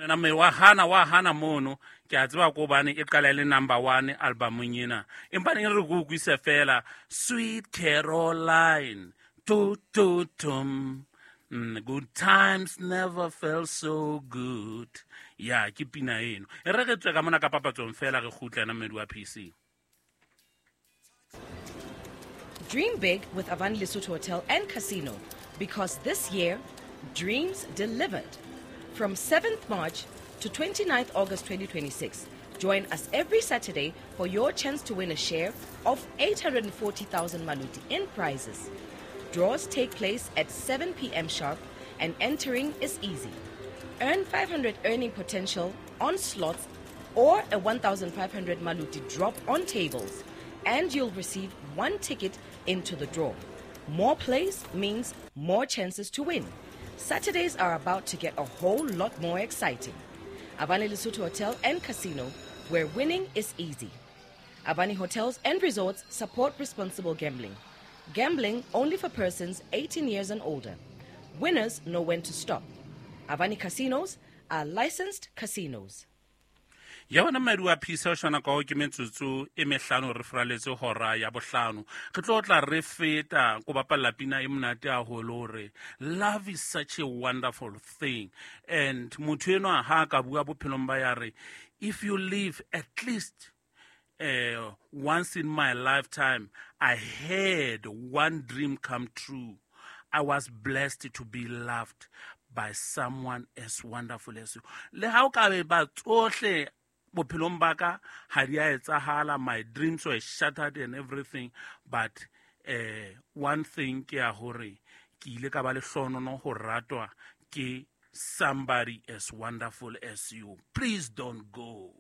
Wena mme wa hana, wa hana mono. Ke a tseba ko hobane e qala e le number one albumong ena, empa ne re ko utlwise fela Sweet Caroline, tu tu tum. Good times never felt so good. Ya ke pina eno e re re tswe ka mona ka papatsong fela re kgutle ena mmedi wa PC. Dream big with Avani Lesotho Hotel and Casino, because this year, dreams delivered. From 7th March to 29th August 2026, join us every Saturday for your chance to win a share of 840,000 maluti in prizes. Draws take place at 7 p.m. sharp and entering is easy. Earn 500 earning potential on slots or a 1,500 maluti drop on tables, and you'll receive one ticket into the draw. More plays means more chances to win. Saturdays are about to get a whole lot more exciting. Avani Lesotho Hotel and Casino, where winning is easy. Avani Hotels and Resorts support responsible gambling. Gambling only for persons 18 years and older. Winners know when to stop. Avani Casinos are licensed casinos. Ya bona mmedi wa phisa o shwana ka o ke metsotso e mehlano re furaletse hora ya bohlano. Re tlo tla re feta ko bapalla pina e monate haholo hore love is such a wonderful thing. And motho enwa ha ka bua bophelong ba ya re, if you live at least once in my lifetime, I had one dream come true. I was blessed to be loved by someone as wonderful as you. Le ha o ka be ba tsohle bophelong ba ka ha di a etsahala, my dreams were shattered and everything, but one thing ke ya hore ke ile ka ba le hlonono ho ratwa ke somebody as wonderful as you. Please don't go.